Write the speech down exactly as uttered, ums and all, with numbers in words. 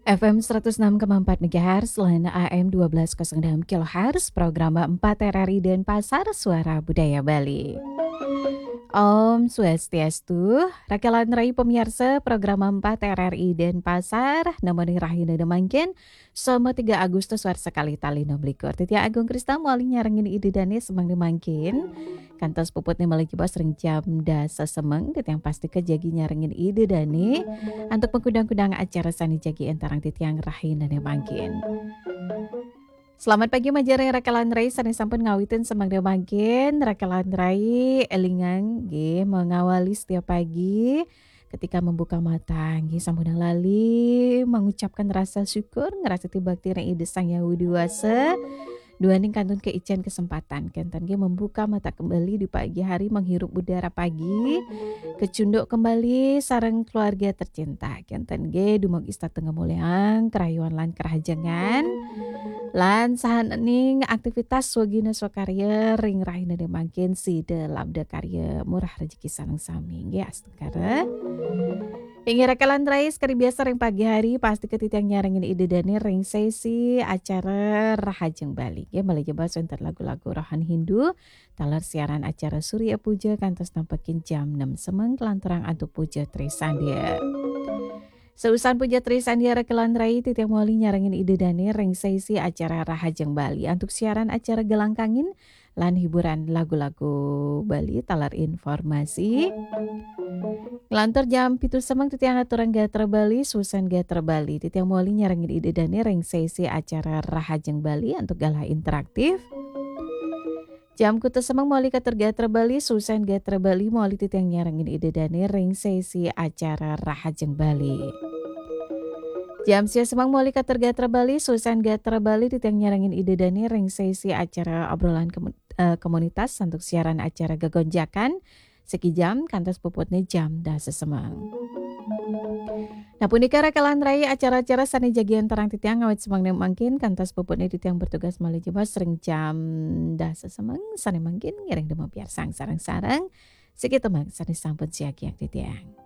F M seratus enam koma empat megahertz, lan A M dua belas kosong enam kilohertz, program empat R R I Denpasar, Suara Budaya Bali. Om Swastiastu, rakelan rai pamiarsa program empat R R I Denpasar, nemoni rahina mangkin, Selasa tiga Agustus warsa kalih tali enam likur. Titiang Agung Krista mawali nyarengin Ida Dane semeng mangkin. Kantos puputne malih jebos ring jam dasa semeng, titiang pastika jagi nyarengin Ida Dane antuk makudang-kudang acara sane jagi entarang titiang rahinane mangkin. Selamat pagi majeng ring rakelan rai sane sampun ngawitin semeng mangkin. Rakelan rai elingang nggih mengawali setiap pagi ketika membuka mata nggih sampunang lali mengucapkan rasa syukur, ngrastiti bakti ring Ida Sang Hyang Widhi Wasa. Duaning kantun kaican kesempatan kenten nggih membuka mata kembali di pagi hari, menghirup udara pagi, kecunduk kembali sareng keluarga tercinta kenten nggih, dumugi setata ngamolihang karahayuan lan kerahajengan lan sahaning aktivitas swagina swakarya ring rahinane mangkin, sida labda karya murah rejeki sareng sami nggih, astungkara. Inggih rakelan rai, sekadi biasa ring pagi hari, pastika titiang nyarengin Ida Dane ring sesi acara Rahajeng Bali. Nggih, malih jebos wenten lagu-lagu rohani Hindu, taler siaran acara Surya Puja kantos nampekin jam enam semeng, kalanturang antuk Puja Trisandya. Seusan Puja Trisandya rakelan rai, titiang mawali nyarengin Ida Dane ring sesi acara Rahajeng Bali antuk siaran acara Gelangkangin lan hiburan lagu-lagu Bali taler informasi. Nglantur jam pitu semeng titiang aturang gatra Bali, seusan gatra Bali. Titiang mawali nyarengin Ida Dane ring sesi acara Rahajeng Bali antuk galah interaktif. Jam kutus semeng mawali katur gatra Bali, seusan gatra Bali mawali titiang nyarengin Ida Dane ring sesi acara Rahajeng Bali. Jam sia semeng mawali katur gatra Bali, seusan gatra Bali titiang nyarengin Ida Dane ring sesi acara obrolan kemu-, eh, komunitas antuk siaran acara Gegonjakan, siki jam kantos puputne jam dasa semeng. Nah, punika rakelan rai acara-acara sane jagi entarang titiang ngawit semeng mangkin kantos puputne titiang bertugas malih jebos ring jam dasa semeng sane mangkin, ngiring dumugi piarsang sareng-sareng. Siki tembang sane sampun siagiang titiang.